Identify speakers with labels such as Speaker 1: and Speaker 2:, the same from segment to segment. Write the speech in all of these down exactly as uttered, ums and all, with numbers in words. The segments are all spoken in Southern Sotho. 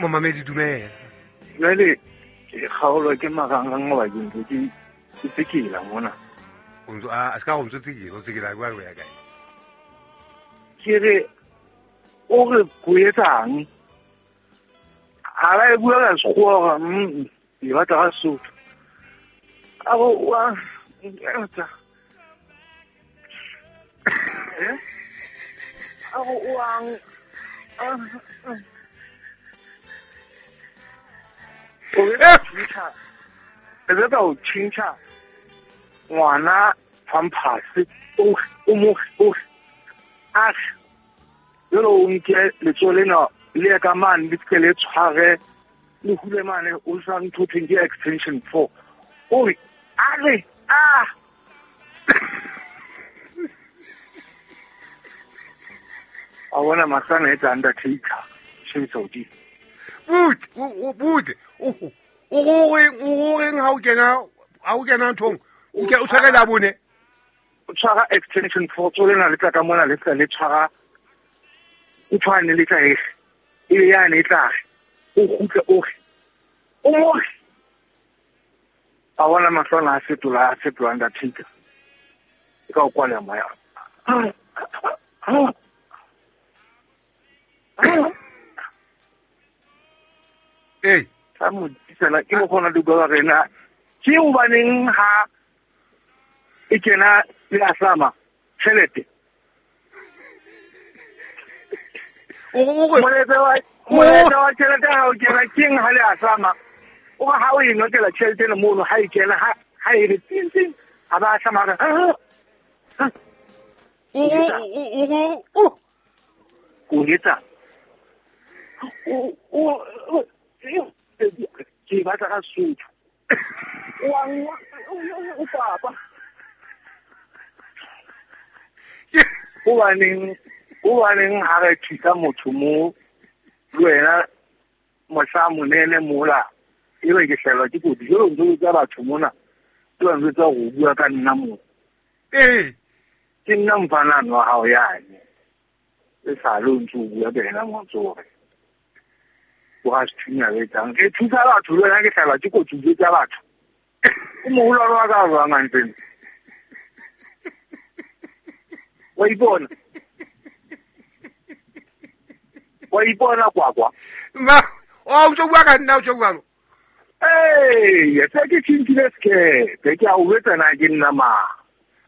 Speaker 1: Momamedi dumela.
Speaker 2: Jwale ke kgaolwa ke marangrang hoba ke ntse ke ke tsekela mona.
Speaker 1: O ntso a se ka go ntso tsekela, o tsekela kwa go ya kae?
Speaker 2: Ke re o re go etsang? Ha ba e bua ka Sekgowa hore mm e batla ka Sesotho. A bo wa etsa. Eh? A go o ang o re tjha. E re ka o tjhintjha ngwana pampers o o mo o a jalo o nke letsoho lena le ka mane le ke le tshware le hule mane o sa ntho thweng ke extension four. O re a re a a bona masana etsa undertaker shebisa hodimo.
Speaker 1: Butle, o butle. O o goreng o goreng ha o kena ha o kena nthong o ke o tshware la bone.
Speaker 2: O tshwara extension four tso lena le tla ka mona le tla le tshwara o tshwane le tla e e be yane e tla o kgutle o re o mo a bona mahlwana a fetola a fetola undertaker e ka o kwala moya.
Speaker 1: Ee
Speaker 2: sa mo tsela ke mo gona di bua rena ke o baneng ha e kena le ahlama tjhelete.
Speaker 1: O o re
Speaker 2: molaetsa wa molaetsa wa tjhelete ha o kena keng ha le ahlama o re ha o e notela tjhelete ena mono ha e kena ha ha e re ting ting ha ba ahlama re
Speaker 1: o o o o
Speaker 2: o etsa o o ke batla ka Sesotho. O o papa. O baneng o baneng ha re thusa motho mo le wena mohla monene mola e be ke hlelwa ke kotsi jalo ntse o tsa batho mona ke ba ntse tsa go bua ka nna mo.
Speaker 1: Ee
Speaker 2: ke nna mfanano wa hao yane e sa le o ntse o bua ka ena mo tsore. O ga se thunya le tang ke thusa batho le wena ke hlelwa ke kotsi o tsa batho. O moholo wa ka jwang hantle? Wa ipona. Wa ipona kwa kwa.
Speaker 1: Ma o ntse o bua ka nna o tjho jwalo.
Speaker 2: Ee, se ke tjhintjhile sekepe ke a o jwetsa na ke nna mang.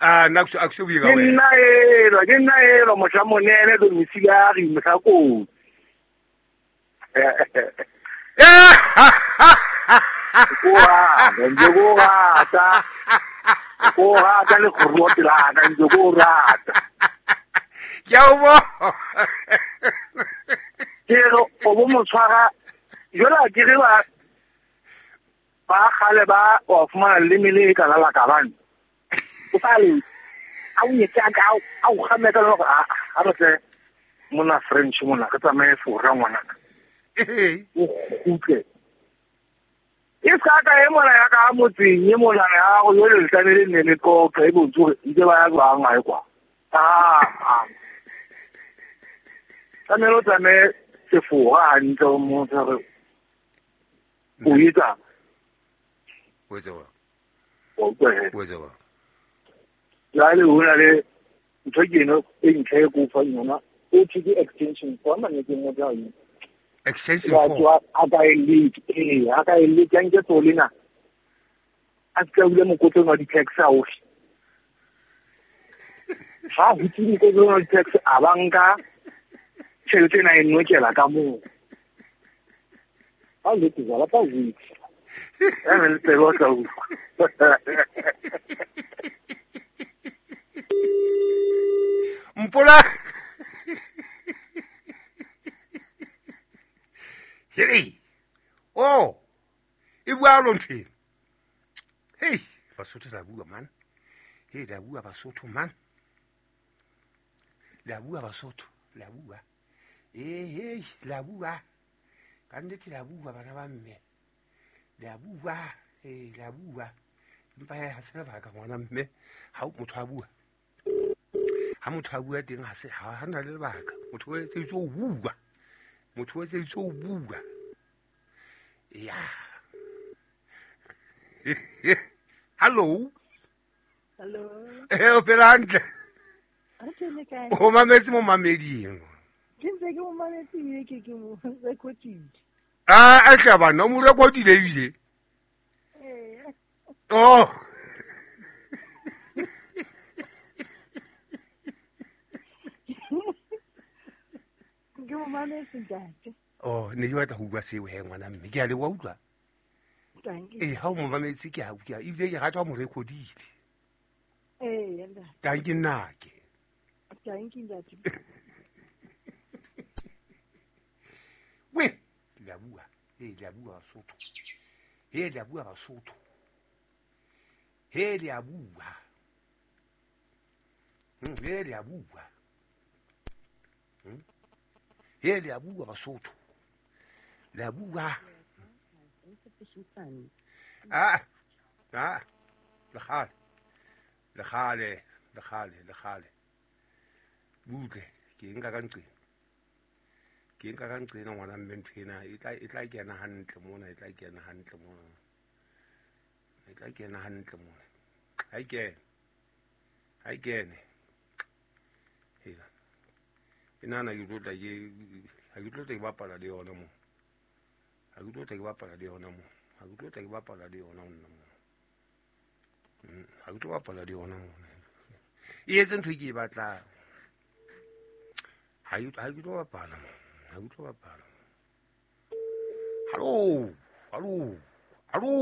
Speaker 1: Ah nna a ke se bue ka
Speaker 2: Ke
Speaker 1: wena.
Speaker 2: nna elwa, ke nna elwa mohla monene domiciliary mohla kotsi. Ko rata, ntse ko rata. Ko rata le kgorua pela ka ntse ko rata.
Speaker 1: Ke a o bona.
Speaker 2: Ke re o bo mo tshwara jwale ha ke re ba ba kgale ba wa fumana leleme le ka la la ka bane. O sa le a o nyetse a ka a o kgame ka hore a a re tle mona French mona re tsamaye Fora ngwanaka.
Speaker 1: Ee
Speaker 2: O kgutle. E sa ka e mona ya ka motseng e mona ya go yo le tlamehile nne le qoqa e bontshe hore ntse ba ya jwang hae kwa. Ah ah. Tlamehile o tsamaye Sefora hantle o mmontshe hore o etsang.
Speaker 1: O etsa jwang?
Speaker 2: Wa utlwa he?
Speaker 1: O etsa jwang?
Speaker 2: Jwale ho na le ntho ke eno e ntle e ke o fang yona o thwe ke extension four mane ke motho a e
Speaker 1: Extension
Speaker 2: Wa
Speaker 1: four.
Speaker 2: tswa a ka e leke, ee, a ka e leke, a nke tso lena. A se ka hula mokotleng wa di-tax a ohle. Ha hutse mokotleng wa di-tax a ba nka tjhelete ena e nokela ka moo. Ha o leke jwala, tla o jwetsa. Ya nang le tsebe o tla utlwa.
Speaker 1: Mpola. Hei. Oh. E bua lo ntho ena. Hei, Basotho la bua man. Hei, la bua Basotho man. La bua Basotho, la bua. Eh, hei, la bua. Ka nnete la bua bana ba mme. La bua, eh, la bua. Empa ha se lebaka ngwana mme ha motho a bua. Ha motho a bua teng ha se ha na le lebaka. Motho o etseditswe ho bua. Motho o etseditswe ho bua. Ya. Hello.
Speaker 3: Hello.
Speaker 1: Eh, o phela hantle. O mametse mo mameding.
Speaker 3: Ke ntse ke mo mametse ebile ke ke mo recordile.
Speaker 1: Ah, a tla bana o mo recordile ebile.
Speaker 3: Ee.
Speaker 1: Oh.
Speaker 3: Ke mo mametse ntate.
Speaker 1: Oh, ne ke batla ho bua seo he ngwana mme. Ke a le wa utlwa.
Speaker 3: Dankie.
Speaker 1: Eh, ha o mo mametse ke a utlwa ebile ke rata ho mo recordile.
Speaker 3: Ee, ntate.
Speaker 1: Dankie nnake.
Speaker 3: Dankie ntate.
Speaker 1: We, le a bua. Eh, le a bua Basotho. Eh, le a bua Basotho. Eh, le a bua. Hmm, eh, le a bua. Hmm. Eh, le a bua Basotho. Le a bua. Ah, ah, le kgale. Le kgale, le kgale, le kgale. Butle, ke nka ka nqena. Ke nka ka nqena ngwana mme ntho ena e tla e tla kena hantle mona, e tla kena hantle mona. E tla kena hantle mona. Ha e kene. Ha e kene. Hela. E nana ke tlo tla ke ha ke tlo tla ke bapala le yona mo. Ha ke tlo tla ke bapala le yona mo. Ha ke tlo tla ke bapala le yona nna mo. Ha ke tlo bapala le yona mo. E etse ntho e ke e batlang. Ha ke tlo bapala mo. Ha ke tlo bapala. Hallo, hallo, hallo.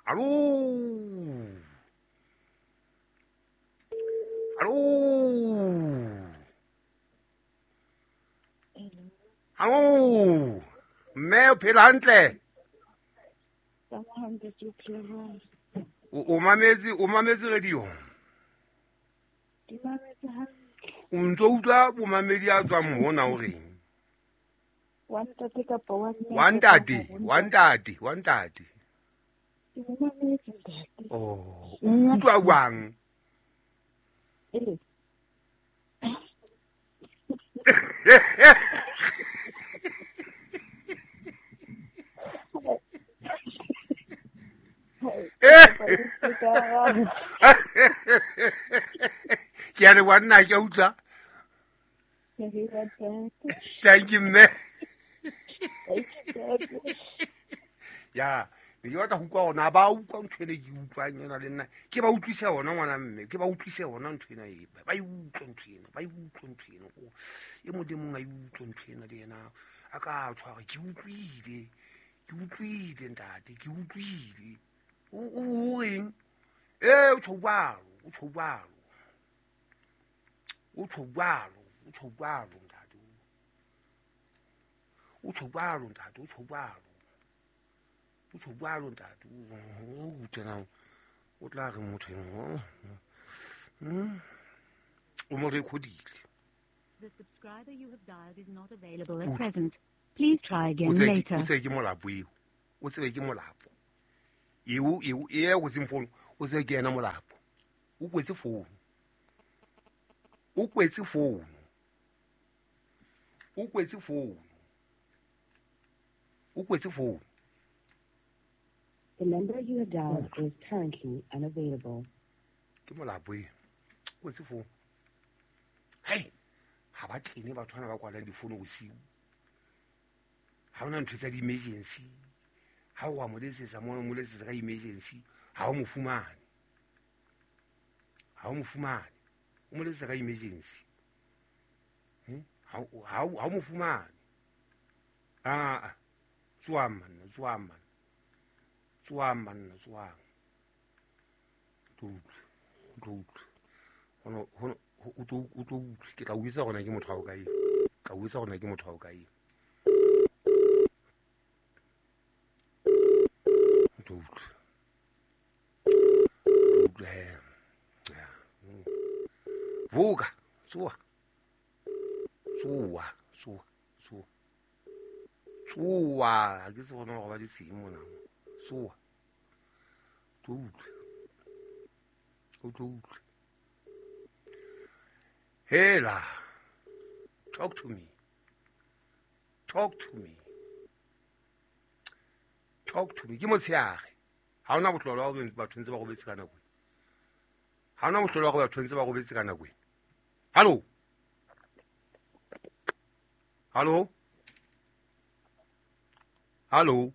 Speaker 1: Hallo. Hallo. Hallo. Mme o phela hantle? O mametse, o mametse radio?
Speaker 3: Ke mametse hantle.
Speaker 1: O ntso utlwa bomamedi a tswang mona o reng?
Speaker 3: Wa ntate kapa wa mme?
Speaker 1: Wa ntate, wa ntate, wa ntate.
Speaker 3: Ke mo mametse ntate.
Speaker 1: Oh, o utlwa jwang?
Speaker 3: Ee.
Speaker 1: Ke a leboha nna ke a utlwa. Thank you mme. Ya, ne ke batla ho utlwa hore na ba utlwa ntho ena ke utlwang ena le nna. Ke ba utlwise yona ngwana mme, ke ba utlwise yona ntho ena e. Ba e utlwe ntho ena, ba e utlwe ntho ena. E mong le mong a e utlwe ntho ena le yena. A ka tshwara ke utlwile. Ke utlwile ntate, ke utlwile. O o reng? Eh, o tjho jwalo, o tjho jwalo. O tjho jwalo, o tjho jwalo ntate. O tjho jwalo ntate, o tjho jwalo. O tjho jwalo ntate. O utlwe o tla re motho eno. Hmm. O mo recordile.
Speaker 4: The subscriber you have dialed is not available at present. Please try again later.
Speaker 1: O tsebe ke molapo eo. O tsebe ke molapo. Eo eo e go seng phone, o tsebe ke yena molapo. O kwetse phone. O kwetse phone. O kwetse phone. O kwetse phone.
Speaker 5: The number you have dialed is currently unavailable.
Speaker 1: Ke molapo e. O kwetse phone. Hey, ha ba tlene batho bana ba kwalang difono bosiu. Ha hona ntho tsa di-emergency. Ha o a mo letsetsa mona, mo letsetsa ka emergency, ha o mo fumane. Ha o mo fumane. O mo letsetsa ka emergency. Hmm? Ha ha ha mo fumane. Ah, tsoang manna, tsoang manna. Tsoang manna, tsoang. Tlo utlwe, tlo utlwe. Hono hono o tlo o tlo utlwe. Ke tla o bitsa hore na ke motho wa hokae. Tla o bitsa hore na ke motho wa hokae. Tlo utlwe. Utlwe he. Ya. Voka, tsoa. Tsoa, tsoa, tsoa. Tsoa, ha ke tsebe hore ba di mona. Tsoa. Tlo utlwe. O tlo utlwe. Hela. Talk to me. Talk to me. Talk to me. Ke motshehare. Ha hona bohlolo wa hore batho ntse ba robetse ka nako. Ha hona bohlolo wa hore batho ntse ba robetse ka nako. Hallo. Hallo. Hallo.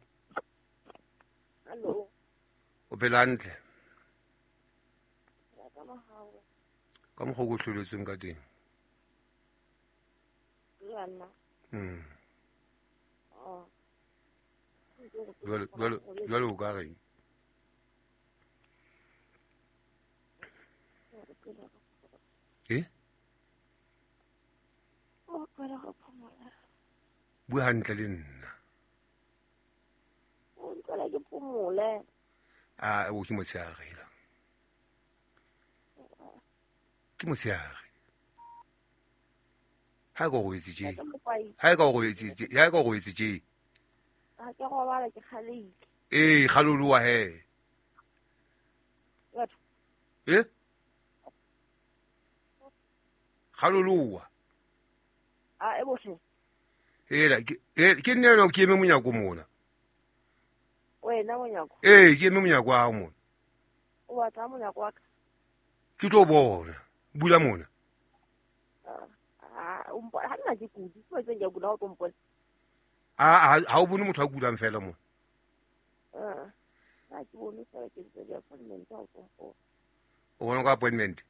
Speaker 3: Hallo.
Speaker 1: O phela hantle? Ka mokgwa o ko hloletsweng ka teng. Mm. Jwale jwale jwale o ka reng? Eh? Bua hantle le nna.
Speaker 3: O ntlwela ke phomole.
Speaker 1: Ah, o ke motshehare la. Ke motshehare. Ha ka robetse tje. Ha ka robetse tje. Ha ka robetse tje.
Speaker 3: Ha ke robala ke kgaleile.
Speaker 1: Eh, kgaloloa he.
Speaker 3: Batho.
Speaker 1: Eh? Kgaloloa.
Speaker 3: Ah, e bohle.
Speaker 1: Hela, ke ke nne no ke eme monyako mona.
Speaker 3: Wena monyako.
Speaker 1: Eh, ke eme monyako wa hao mona.
Speaker 3: O batla monyako wa ka?
Speaker 1: Ke tlo bona. Bula mona.
Speaker 3: Ah, o mpona ha nna ke kudi, ke tseng ke kula o tlo mpona.
Speaker 1: Ah, ha o bone motho a kulang fela mona.
Speaker 3: Ah. Ha ke bone fela ke ntse ke appointment ha o tlo mpona.
Speaker 1: O bona ka appointment?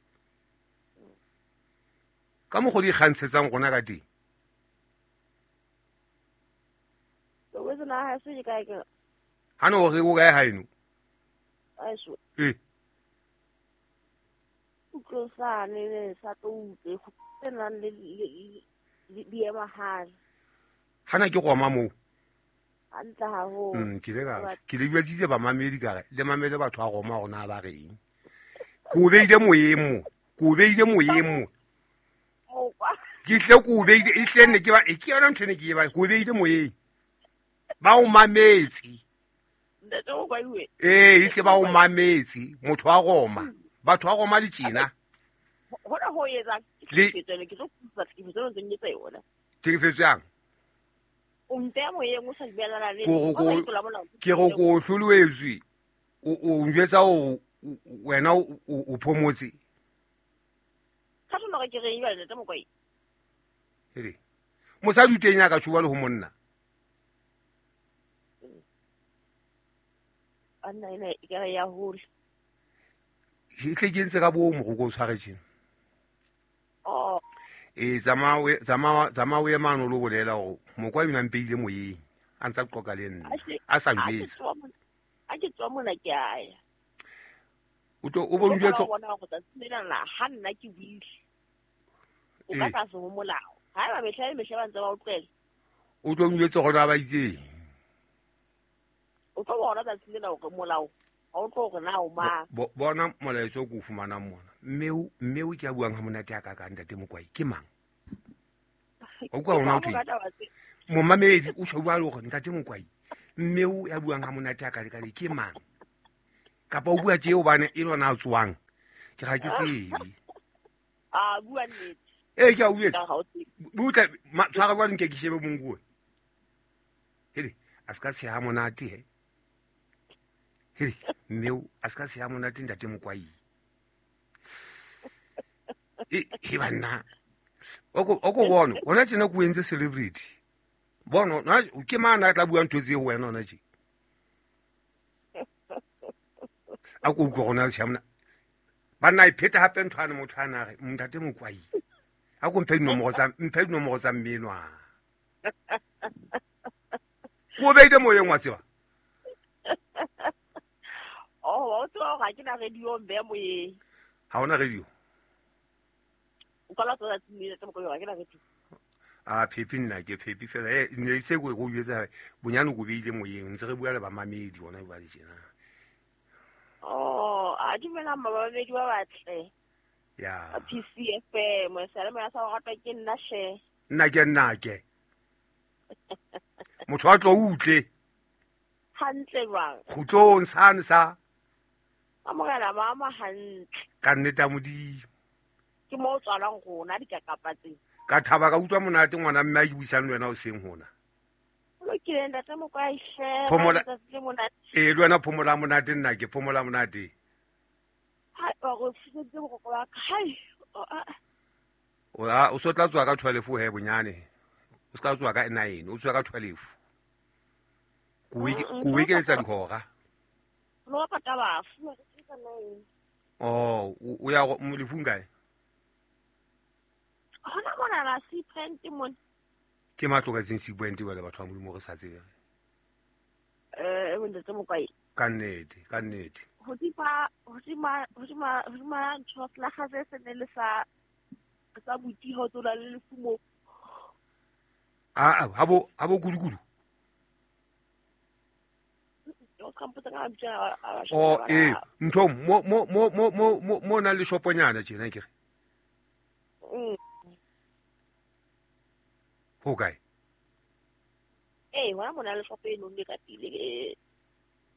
Speaker 1: Ka mokgwa di kgantshetsang rona ka teng.
Speaker 3: O wetse na ha se ke kae ke?
Speaker 1: Ha no re o kae haeno?
Speaker 3: Aiso.
Speaker 1: Eh.
Speaker 3: Utlwe sane le sa tlo utlwe tse nang le le di ema hane.
Speaker 1: Hana ke goma moo.
Speaker 3: Hantle haholo.
Speaker 1: Mm, ke le ka ke le buetsitse ba mamedi ka re le mamele batho a goma rona ba reng. Ko beile moyeng mo. Ko beile moyeng mo. Ke tle ko beile e tle nne ke ba e ke yona ntho ne ke e ba ko beile moyeng. Ba o mametse.
Speaker 3: Ntate o kwa iwe.
Speaker 1: Eh, e tle ba o mametse motho a goma. Batho a goma le tjena.
Speaker 3: Hona ho etsa ke tsene ke tlo kusa ke tsene ntse ke tsa yona.
Speaker 1: Tlhekefetso yang?
Speaker 3: O mpeya moyeng o sa dumellana le
Speaker 1: ke go ko hloloetswe. O o njwetsa o wena o phomotse.
Speaker 3: Ka tlo ke re ibale ntate Mokwai.
Speaker 1: Hele. Mosadi o teng ya ka tshuba le ho monna.
Speaker 3: Anna ena e ka ya hole.
Speaker 1: E tle ke ntse ka bo mo go tshware tjena.
Speaker 3: Oh.
Speaker 1: E tsamaya tsamaya tsamaya mano lo bolela hore Mokwai o mpeile moyeng a ntsa qoka le nna a sa njwetsa.
Speaker 3: A ke tswa mona ke aya.
Speaker 1: O tlo o bo njwetsa
Speaker 3: bona go tsatsi lena la ha nna ke buile. O ka tlase ho molao. Ha ba mehla le mehla ba ntse ba o tlohela.
Speaker 1: O tlo njwetsa hore ba itseng.
Speaker 3: O tlo bona tsatsi lena hore molao ha o tlo hore na o mang.
Speaker 1: Bona molaetsa o ko fumanang mona. Mme o mme o ke a buang ha monate a ka ka ntate Mokwai ke mang? O kwa ona o thwe. Momamedi o tjho bua le hore ntate Mokwai mme o ya buang ha monate a ka le ke mang? Kapa o bua tje hobane e lona a tswang. Ke ga ke tsebe.
Speaker 3: Ah, bua nnete.
Speaker 1: Eh, ke a uetse. Butla tshwara kwa nke ke shebe monguwe. Hele, a ska tsheha monate he. Hele, mme o a ska tsheha monate ntate Mokwai. E he banna. Oko oko bona, ona tjena ko entse celebrity. Bona, na ke mana tla bua ntho tse ho wena ona tje. A ko utlwe gona tshamna. Banna e pheta hape ntho ane motho ana re ntate Mokwai. A ko mphe dinomoro tsa mphe dinomoro tsa mmenwa. Ko beile moyeng wa tseba.
Speaker 3: Oh, o tswa ga ke na radio mbe moyeng.
Speaker 1: Ha ona radio.
Speaker 3: O ka la tswa tsatsi tsa Mokwai ga ke na radio.
Speaker 1: A phepi nna ke phepi fela eh ne itse go go jwetsa bonyane go beile moyeng ntse re bua le ba mamedi bona ba le tjena.
Speaker 3: Oh, a dumela mamedi ba batle.
Speaker 1: Ya.
Speaker 3: P C F M sala mo ya sa go ratwa ke nna she.
Speaker 1: Nna ke nna ke. Motho a tlo utle.
Speaker 3: Hantle jwang?
Speaker 1: Kgutlong sane sa.
Speaker 3: Amogela mama hantle.
Speaker 1: Ka nnete a Modimo.
Speaker 3: Ke mo tswalang rona dikakapa tse.
Speaker 1: Ka thaba ka utlwa monate ngwana mme a ke buisang le wena o seng hona.
Speaker 3: Ee, ntate Mokwai hle.
Speaker 1: Phomola. Ee, le wena phomola monate nna ke phomola monate.
Speaker 3: Hai, wa go fihletse boroko ba ka. Hai.
Speaker 1: O a o so tla tswa ka twelve he bonyane. O ska tswa ka nine, o tswa ka twelve. Ko ko ekeletsa dihora.
Speaker 3: Lo pata bafu, ke ka nine.
Speaker 1: Oh, o ya mo lefung kae?
Speaker 3: Hona mona la C point mona.
Speaker 1: Ke matlo ka tseng C point ba le batho ba Modimo re sa tsebe.
Speaker 3: Eh, ntate Mokwai.
Speaker 1: Ka nnete, ka nnete.
Speaker 3: Hodima hodima hodima hodima ntho la gaze se ne le sa sa butiho tsola le lefumo.
Speaker 1: Ah, ha bo ha bo kudukudu. Oh, eh, ntho mo mo mo mo mo mo na le shoponyana tjena ke re.
Speaker 3: Mm.
Speaker 1: Ho kae?
Speaker 3: Eh, wa mona le shopo eno le ka pele e.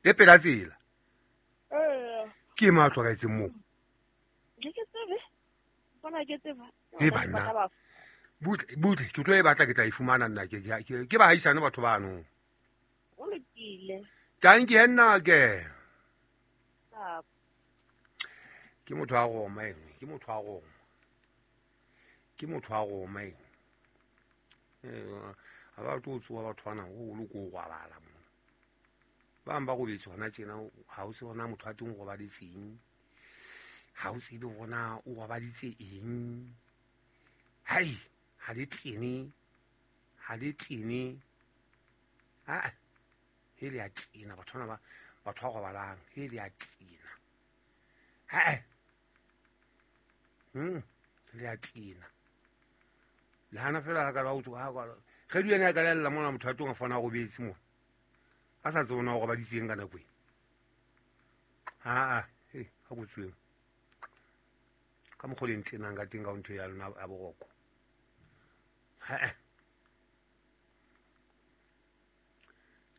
Speaker 1: E pela tsela.
Speaker 3: Eh.
Speaker 1: Ke matlo ka etseng mo.
Speaker 3: Ke ke tsebe. Bona ke tseba.
Speaker 1: E banna. Butle butle ke tlo e batla ke tla e fumana nna ke ke ba haisane batho bano.
Speaker 3: O lokile.
Speaker 1: Thank you nna ke. Ke motho a roma eng, ke motho a roma. Ke motho a roma eng. Eh, ha ba tlo tsoa batho bana go lo go gwalala mo. Ba mba go betse hona tjena ha o se bona motho a teng go baditseng. Ha o tsebe bona o gobaditse eng. Hai, ha le tene. Ha le tene. Ah. He le a tena batho ba batho ba gobalang, he le a tena. Ha. Hm, le a tena. Le hana fela ka ba o tsoa ha ka. Ge di ena ka lella mona motho a tong a fana go betse mo. A sa tsebona go gobaditseng ka nako e. Ha a, he, ha go tsweng. Ka mokgwa le ntenang ka teng ka ntho ya lona ya boroko. Ha.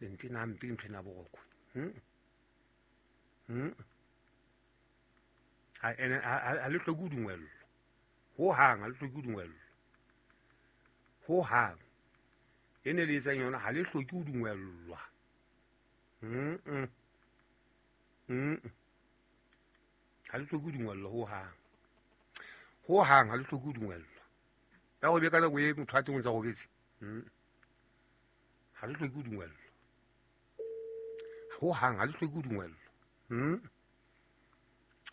Speaker 1: Le ntena mpe ntho ena boroko. Hm. Hm. Ha ene ha le hloke ho dungwellwa. Ho hang ha le hloke ho dungwellwa. Ho hang. Ene le etsang yona ha le hloke ho dungwellwa. Hm hm. Hm. Ha le hloke ho dungwellwa ho hang. Ho hang ha le hloke ho dungwellwa. Ya go be ka nako e motho a teng o ntsa robetse. Hm. Ha le hloke ho dungwellwa. Ho hang ha le hloke ho dungwellwa. Hm.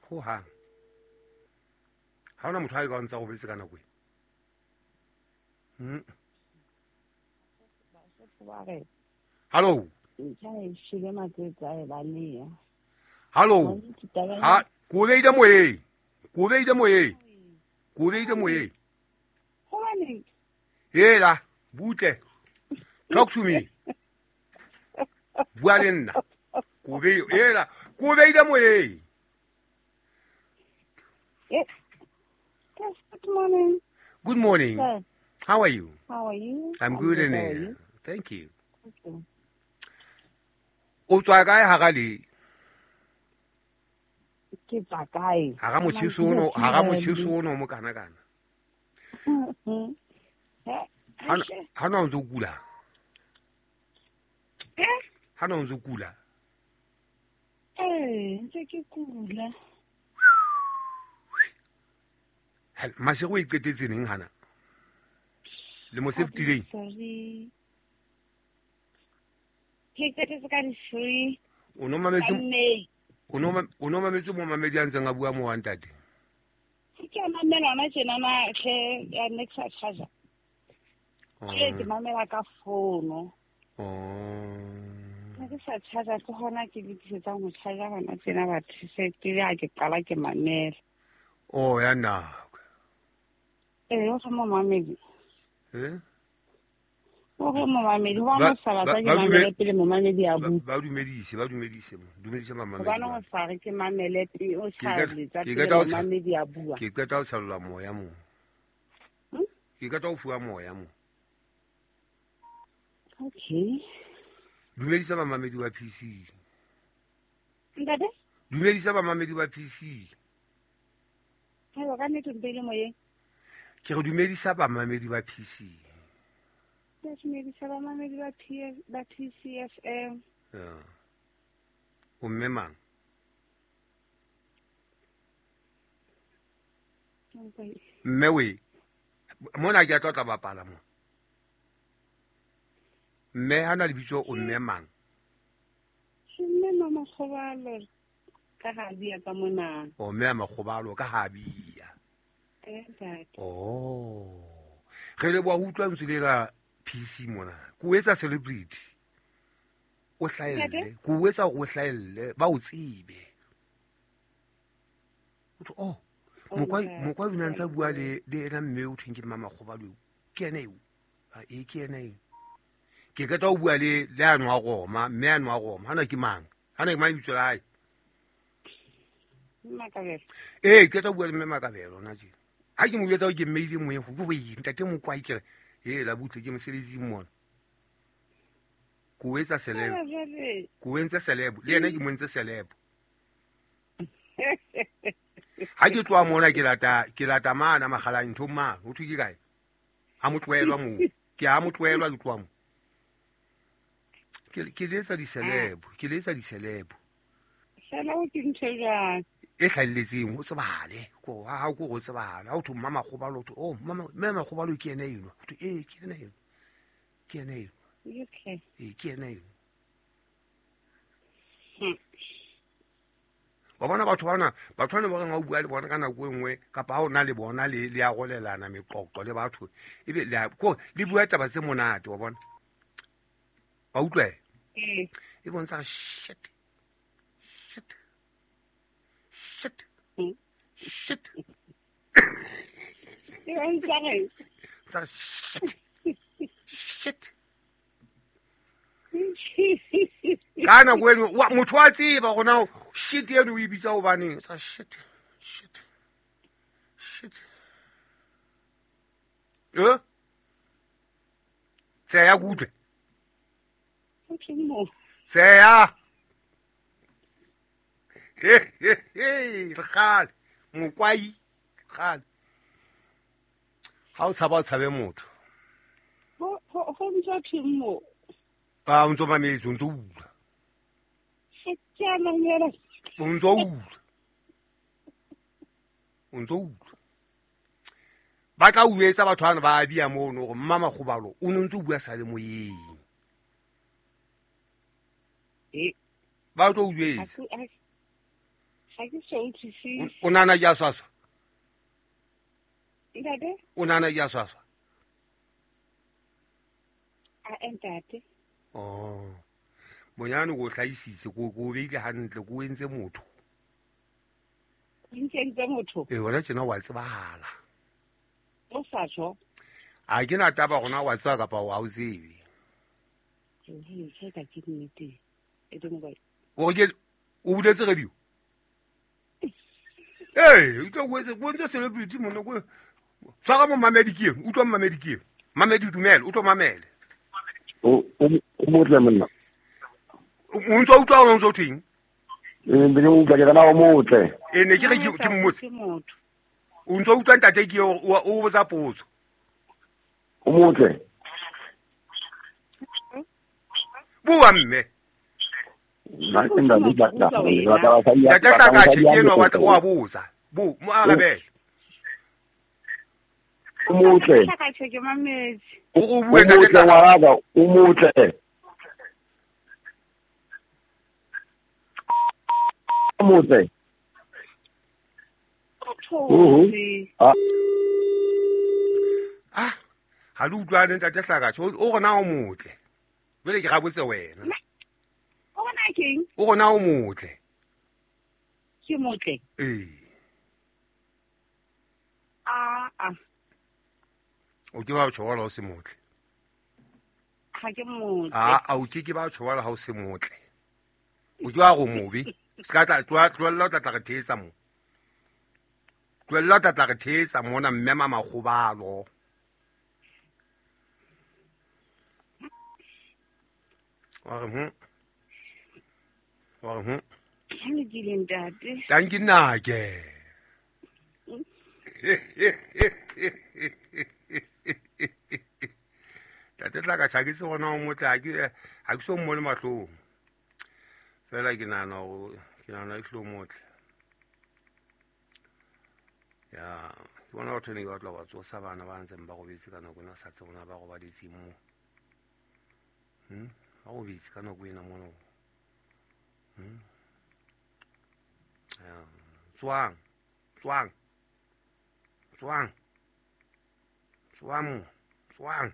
Speaker 1: Ho hang. Ha ona motho a ka ntsa robetse ka nako e. Hm. Hello. Hello. Ha ko beile moyeng. Ko beile moyeng. Ko beile moyeng.
Speaker 6: Hobaneng?
Speaker 1: Hela, butle. Talk to me. Bua le nna. Ko be hela, ko beile moyeng.
Speaker 6: Yes, good morning.
Speaker 1: Good morning.
Speaker 6: Sir.
Speaker 1: How are you?
Speaker 6: How are you?
Speaker 1: I'm, I'm good, and you? Thank you.
Speaker 6: Okay.
Speaker 1: O tswa kae ha le?
Speaker 6: Ke tswa kae?
Speaker 1: Ha ga motjheso ono, ha ga motjheso ono mo kana kana. Ha ha no ntse o kula.
Speaker 6: Eh?
Speaker 1: Ha no ntse o kula.
Speaker 6: Eh, ntse ke kula.
Speaker 1: Ha masego e qetetse neng hana? Le mo se fetileng.
Speaker 6: Sorry. Ke qetetse ka di three.
Speaker 1: O no mametse o no o no mametse mo mamedi a ntseng a bua mo wa ntate.
Speaker 6: Ke a mamela hona tjena na hle ya next charger. Ke ke mamela ka fono.
Speaker 1: Oh.
Speaker 6: Ke sa charger ke hona ke lokisetsang ho charger hona tjena batho se pele ha ke qala ke mamela.
Speaker 1: Oh ya na.
Speaker 6: Eh, o mo mamedi.
Speaker 1: Eh?
Speaker 6: O re momamedi wa mo sala tsa ke mamele pele momamedi a bua.
Speaker 1: Ba dumedise, ba dumedise mo. Dumedise mamamedi.
Speaker 6: Ba no sa re ke mamele pele o tshalle tsa pele momamedi a bua.
Speaker 1: Ke qeta ho tshallola moya mo. Ke qeta ho fuwa moya mo.
Speaker 6: Okay.
Speaker 1: Dumedisa mamamedi wa P C.
Speaker 6: Ntate?
Speaker 1: Dumedisa mamamedi wa P C.
Speaker 6: Hello, ka nnete mpele moyeng.
Speaker 1: Ke re dumedisa bamamedi ba P C.
Speaker 6: Ke dumedisa bamamedi ba P ba P C F M.
Speaker 1: Ya. O mme mang? Mme we. Mona ke a tla bapala mo. Mme ha na lebitso o mme mang?
Speaker 6: Mme mama Kgobalo ka ha bia ka mona.
Speaker 1: O mme Makgobalo ka ha bia.
Speaker 6: Eh ntate.
Speaker 1: Oh. Re le bua utlwa ntse le la P C mona. Ko etsa celebrity. O hlaelle. Ko etsa o hlaelle ba o tsebe. Oh. Mokwa mokwa bina ntsa bua le le ena mme o thweng ke mama Kgobalo. Ke ena eo. Ha e ke ena eo. Ke ka tla o bua le le ano a Roma, mme ano a Roma. Hana ke mang? Hana ke mang bitso la hae?
Speaker 6: Makabelo.
Speaker 1: Eh, ke tla bua le mme Makabelo na tje. Ha ke mo jwetsa ke mmeile moyeng go go ntate Mokwai ke re, "Eh, la butle ke mosebetsing mona." Ko etsa celeb. Ko entse celeb. Le yena ke mo entse celeb. Ha ke tloha mona ke lata ke lata mana Makgalane ntho mang, ho thwe ke kae? Ha motloelwa moo. Ke ha motloelwa ke tloha mo. Ke ke letsa di-celeb, ke letsa di-celeb.
Speaker 6: Sela o ke ntho jwang?
Speaker 1: E hlahelletseng ho tsebale ko ha ha ko go tsebale ha o thwe mama Kgobalo to oh mama mme Makgobalo ke ena eno ho thwe eh ke ena eno ke ena eno
Speaker 6: okay
Speaker 1: eh ke ena eno wa bona batho bana batho bana ba reng ha o bua le bona ka nako e nngwe kapa ha o na le bona le le a rolelana meqoqo le batho ebe le ko le bua taba tse monate wa bona wa utlwa
Speaker 6: eh
Speaker 1: e bontsha shit shit shit shit shit shit ka nako eno motho wa tseba gona shit eno o e bitsa hobaneng sa shit shit shit eh tseya kutlwe tseya he he he kgale Mokwai kgale ha o tshaba o tshabe motho
Speaker 6: ho ho ntso thweng mo
Speaker 1: a o ntso mametse o ntso utlwa
Speaker 6: ke a mamela
Speaker 1: o ntso utlwa o ntso utlwa ba tla o etsa batho bana ba bia mono gore mma Makgobalo o ne ntse o bua sa le moyeng
Speaker 6: eh
Speaker 1: ba tlo o jwetsa
Speaker 6: ha ke so utlwisise
Speaker 1: o nana ke a swaswa
Speaker 6: ntate
Speaker 1: o nana ke a swaswa
Speaker 6: a ntate
Speaker 1: oh bonyane go hlaisitse go go beile hantle go entse motho
Speaker 6: ntse motho
Speaker 1: e wena tjena wa tsebahala
Speaker 6: o sa tjho
Speaker 1: a ke na taba gona wa tseba kapa wa o tsebe
Speaker 6: ke ka ke nnete e do mobile
Speaker 1: o ke o buletse radio eh o tlo go etse go ntse celebrity mona go tshwara mo mamedi ke eno utlwa mamedi ke eno mamedi dumela o tlo mamele
Speaker 2: o o motle monna
Speaker 1: o ntse o utlwa o ntse o thweng
Speaker 2: eh ntse ke utlwa ke kana o motle
Speaker 1: e ne ke re ke mmotse o ntse o utlwa ntate ke o o botsa potso
Speaker 2: o motle
Speaker 1: bua mme
Speaker 2: nna ke nda le batla
Speaker 1: ntate Hlakatjhe ke enwa wa o a botsa bo mo arabele
Speaker 2: o motle
Speaker 6: Hlakatjhe ke mametse
Speaker 1: o o bue ntate
Speaker 2: Hlakatjhe o motle o motle
Speaker 1: ah ha le utlwane ntate Hlakatjhe o rona o motle jwale ke rabotse wena
Speaker 6: o bona keng
Speaker 1: o rona o motle
Speaker 6: ke motle
Speaker 1: eh
Speaker 6: a a
Speaker 1: o ke ba tshwara o se motle
Speaker 6: ha ke motle
Speaker 1: a a o ke ke ba tshwara ha o se motle o ke wa go mobe se ka tla tloella o tla tla re thetsa mo tloella o tla tla re thetsa mona mme mama Kgobalo wa re hm wa re hm
Speaker 6: ke lokile ntate
Speaker 1: tanki nnake Tate Tlakatjhe ha ke tsebe hore na o motle, ha ke ha ke so mmone mahlong. Fela ke nahana hore ke nahana ehlile o motle. Ya, ke bona batho ne ke batla ho ba tsosa bana ba ntseng ba robetse ka nako ena, sa tsebe hore na ba robaditseng moo. Hmm? Ba robetse ka nako ena mono. Hmm? Ya, tswang, tswang. Tswang. Tswang, tswang.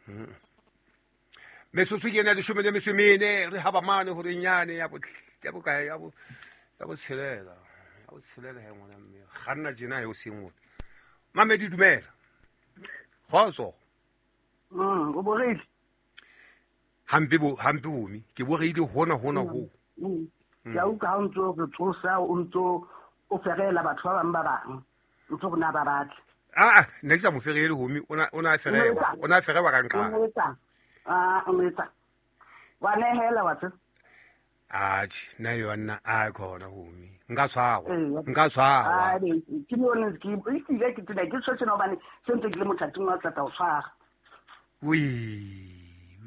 Speaker 1: Hmm. Metsotso ke ena leshome le metso e mene, re haba mane hore nyane ya bo ya bokae ya bo ya bo tshelela. Ya bo tshelela he ngwana mme. Kganna tjena he o seng ona. Mamedi dumela. Kgotso.
Speaker 7: Mm, o boreile.
Speaker 1: Hampe bo hampe bomi, ke boreile hona hona ho.
Speaker 7: Mm. Ke a utlwa ha o ntso re tsosa, o ntso o ferela batho ba bang ba bang. Ntso rona ba batle.
Speaker 1: Ah, ne ke sa mo ferele homi, o na o na ferewa, o na ferewa ka nqa.
Speaker 7: O etsa. Ah, o etsa. Wa nehela wa tse.
Speaker 1: Atjhe, nna yona a khona homi. Nka tshwarwa, nka tshwarwa.
Speaker 7: Ah, ke yone ke ehlile ke tsena ke tshwetse na hobane se ntse ke le mothating wa tla o tshwara.
Speaker 1: Ui,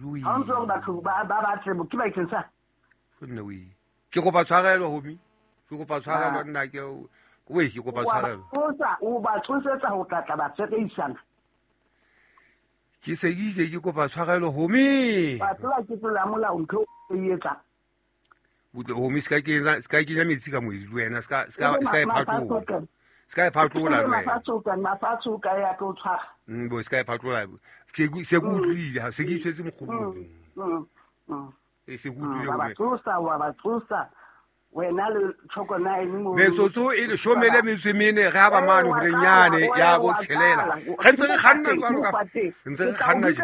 Speaker 1: ui.
Speaker 7: Ha ntse o batho ba ba batle ke ba ikeng sa.
Speaker 1: Nne ui. Ke kopa tshwarelo homi. Ke kopa tshwarelo nna ke oi ke kopa tshwarelo.
Speaker 7: O tsa o ba tsosetsa ho tla ba tseisana.
Speaker 1: Ke se ke itse ke kopa tshwarelo homi.
Speaker 7: Ba tsela ke tlola molao ntho e etsa.
Speaker 1: Butle homi ska ke ska ke nya metsi ka moedi le wena ska ska ska e phatlola. Ska e phatlola le wena.
Speaker 7: Mafatso mafatso ka ya tlo tshwara.
Speaker 1: Mm bo ska e phatlola. Ke se ke utlwile ha se ke itshwetse mokgobong.
Speaker 7: Mm. Mm.
Speaker 1: E se ke utlwile
Speaker 7: ba tsosa wa ba tsosa. Wena le tshoko na eng mo.
Speaker 1: Metsotso e leshome le metso e mene re ha ba mane hore nyane ya bo tshelela. Re ntse re kganna jwalo ka ntse re kganna
Speaker 7: je.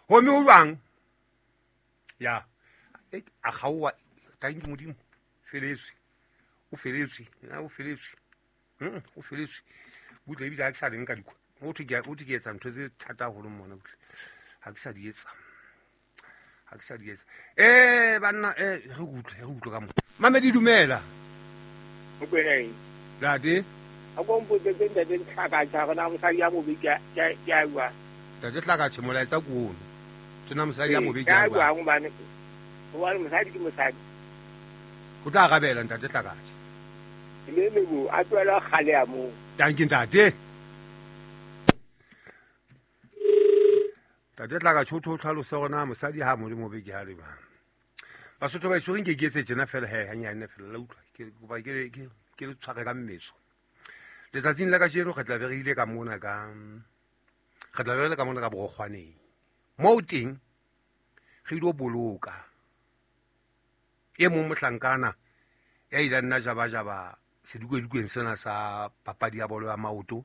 Speaker 1: Homi o jwang? Ya. A kgaowa thank you Modimo. Feletswe. O feletswe. Na o feletswe. Mm o feletswe. Butle ebile ha ke sa leng ka dikwa. O thwe ke o thwe ke etsa ntho tse thata haholo mona butle. Ha ke sa di etsa. Ha ke sa di etsa. Eh banna eh re utlwe re utlwe ka mo. Mamedi dumela.
Speaker 2: O kwena eng?
Speaker 1: Ntate.
Speaker 2: A ko mpotse tse ntate Tlakatjhe hore na mosadi ya mobe ke ke a bua.
Speaker 1: Ntate Tlakatjhe molaetsa ke ono. Tsena mosadi ya mobe ke a
Speaker 2: bua. Hobane hobane mosadi ke mosadi.
Speaker 1: O tla arabela ntate Tlakatjhe.
Speaker 2: Le le bo a tlohela kgale ya moo.
Speaker 1: Dankie ntate. Ntate Tlakatjhe o tlo tlhalosa hore na mosadi ha mo le mobe ke ha le bang. Basotho ba isore nke ke etse tjena fela he hanyane fela la utlwa ke kopa ke ke ke le tshware ka mmetso. Letsatsing la kajeno re tla be re ile ka mona ka re tla be re le ka mona ka Borokgwaneng. Moo teng re ile boloka e mong mohlankana ya ile nna jaba jaba sedikwedukweng sena sa papadi ya bolo ya maoto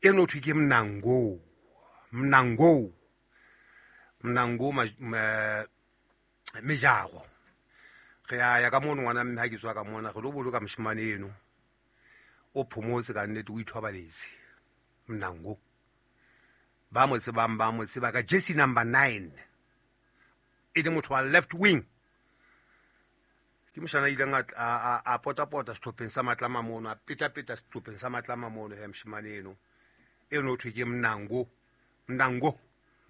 Speaker 1: e no thwe ke Mnango. Mnango Mnango Mejago. Re ya ya ka mono ngwana mme ha ke tswa ka mona re lo boloka moshemane eno o phomotse ka nnete o ithobaletse. Mnango ba mo tsebang ba mo tseba ka jersey number nine e le motho wa left wing. Ke moshana ileng a a pota-pota sehlopheng sa Matlama mono, a peta-peta sehlopheng sa Matlama mono he moshemane eno eno thwe ke Mnango Mnango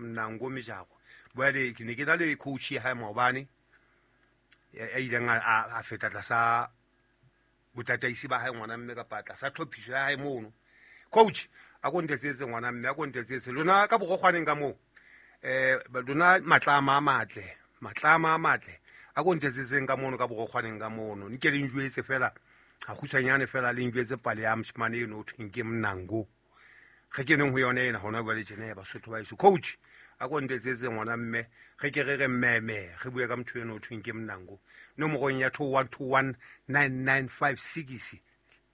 Speaker 1: Mnango Mejago. Bjale ke ne ke na le coach ya hae maobane ya ileng a feta tlasa botataisi ba hae ngwana mme kapa tlasa tlhophiso ya hae mono. Coach a ko ntetsetse ngwana mme a ko ntetsetse lona ka Borokgwaneng ka moo eh lona Matlama a matle Matlama a matle a ko ntetsetseng ka mono ka Borokgwaneng ka mono nke le njwetse fela ha kgutshwanyane fela le njwetse pale ya moshemane eno o thweng ke Mnango. Re keneng ho yona ena hona jwale tjena ya Basotho ba eso. Coach a ko ntetsetse ngwana mme re ke re re mmeme re bue ka motho eno o thweng ke Mnango. Nomorong ya two one two one nine nine five six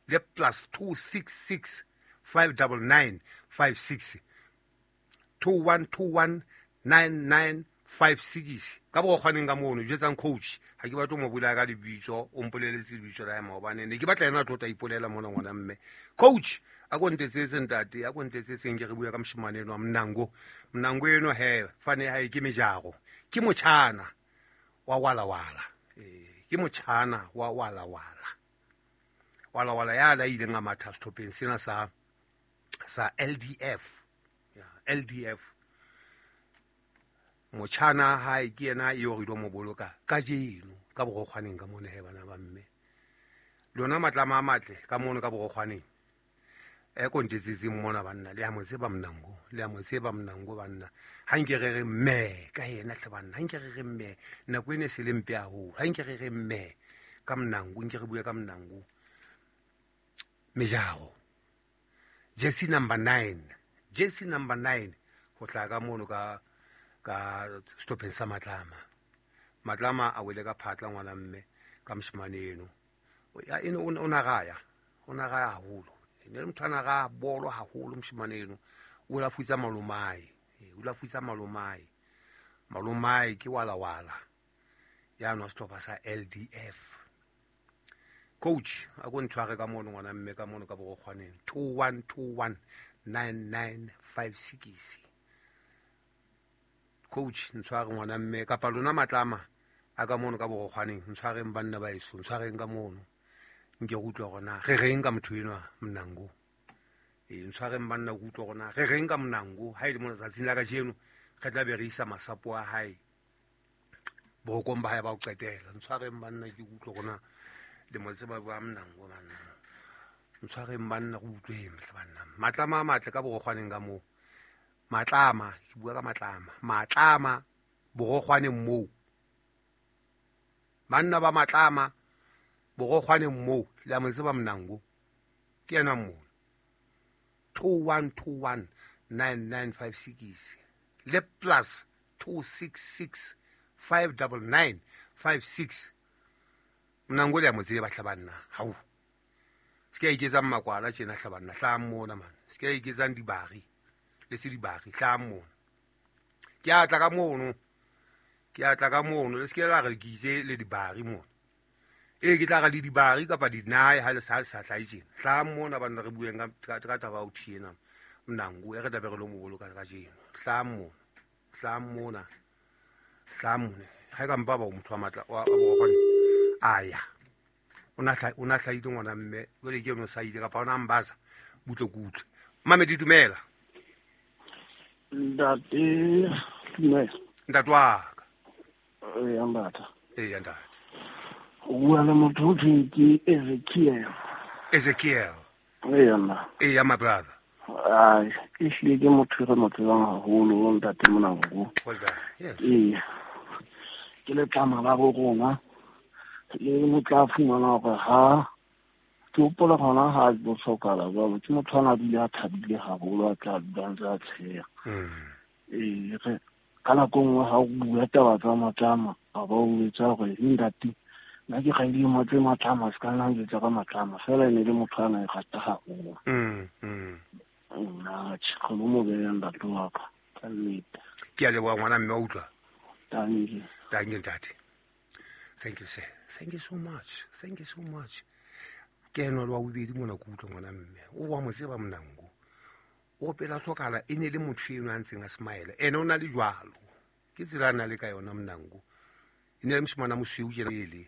Speaker 1: le plus two six six five nine nine five six two one two one nine nine five six ka Borokgwaneng ka mono jwetsang coach ha ke batle mo bula ka lebitso o mpoleletse lebitso la hae maobane ne ke batla yena a tlo tla ipolela mona ngwana mme. Coach a ko ntetsetse ntate a ko ntetsetseng ke re bua ka moshemane eno wa Mnango. Mnango eno he fane hae ke Mejago ke motjhana wa wala wala eh ke motjhana wa wala wala wala wala ya la ileng a matha sehlopheng sena sa Sa L D F. Ya, L D F. Motjhana hae ke yena eo re ilo mo boloka kajeno ka borokgwaneng ka mona he bana ba mme. Lona matlama a matle ka mono ka borokgwaneng. E kontetsetseng mona banna le a mo tseba Mnango, le a mo tseba Mnango banna. Ha nke re re mme ka yena hle banna, ha nke re re mme nako ene se le mpe haholo. Ha nke re re mme ka Mnango, nke re bue ka Mnango. Mejaro. Jersey number nine. Jersey number nine ho tla ka mono ka ka stoppeng sa Matlama. Matlama a wele ka phatla ngwana mme ka moshemane eno. Ya eno o na raya, o na raya haholo. Ne le motho a na raya bolo haholo moshemane eno. O la futsa malomae, o la futsa malomae. Malomae ke wala wala. Ya no sehlopha sa L D F. Coach a go ntshware ka mono ngwana mme ka mono ka borokgwaneng two one two one nine nine five six. Coach ntshware ngwana mme kapa lona Matlama a ka mono ka borokgwaneng ntshwareng banna ba eso ntshwareng ka mono nke go utlwa gona re reng ka motho enwa Mnango. E ntshwareng banna go utlwa gona re reng ka Mnango ha ile mona tsatsing la kajeno re tla be re isa masapo a hae borokong ba hae ba o qetela. Ntshwareng banna ke utlwa gona le mo tseba ba Mnango banna. Ntshwareng banna go utlweng hle banna. Matlama a matle ka borokgwaneng ka moo. Matlama ke bua ka Matlama. Matlama borokgwaneng moo. Banna ba Matlama borokgwaneng moo le a mo tseba Mnango. Ke yena moo. two one two one nine nine five six le plus two six six five nine nine five six. Mnango le a mo tseba hle banna. Hao. Se ke iketsang makwala tjena hle banna hlang mona man. Se ke iketsang dibari. Le se dibari hlang mona. Ke a tla ka mono. Ke a tla ka mono le se ke la re ke itse le dibari mona. E ke tla ra le dibari kapa dinae ha le sa le sa hlae tjena. Hlang mona banna re bueng ka ka taba ya ho tjena. Mnango e re tla be re lo mo boloka kajeno. Hlang mona. Hlang mona. Hlang mona. Ha e ka mpa ba motho wa matla wa borokgwane. Aya. O na hla o na hlaile ngwana mme jwale ke yona sa ile kapa ona mbaza butle kutle. Mame di dumela.
Speaker 8: Ntate dumela.
Speaker 1: Ntate wa ka.
Speaker 8: Eh ntate.
Speaker 1: Eh ntate.
Speaker 8: O bua le motho o thweng ke Ezekiel.
Speaker 1: Ezekiel.
Speaker 8: Eh nna.
Speaker 1: Eh my brother.
Speaker 8: Ai, ke hlile ke motho re mo tsebang haholo ntate Mnango.
Speaker 1: Well done. Yes.
Speaker 8: Eh. Ke letlama la bo rona. Le mo tla fumana hore ha ke hopola hona ha bo hlokahala jwalo ke motho ana bile a thabile haholo a tla dulang tsa tsheya. Eh re ka nako nngwe ha o bua taba tsa Matlama a ba o etsa hore ntate nna ke gaile motse Matlama se ka nna ntse ka Matlama fela e ne le motho ana e rata haholo.
Speaker 1: Mm mm.
Speaker 8: Nna tjhe mo beya ntate wa ka ka nnete.
Speaker 1: Ke a leboha ngwana mme wa utlwa.
Speaker 8: Tanki.
Speaker 1: Tanki ntate. Thank you sir. Thank you so much. Thank you so much. Ke eno le wa bobedi mona ke utlwa ngwana mme. O wa mo tseba Mnango. O pela hlokala e ne le motho eno a ntseng a smile. Ene o na le jwalo. Ke tsela a na le ka yona Mnango. E ne le moshemane a mosweu tjena ele.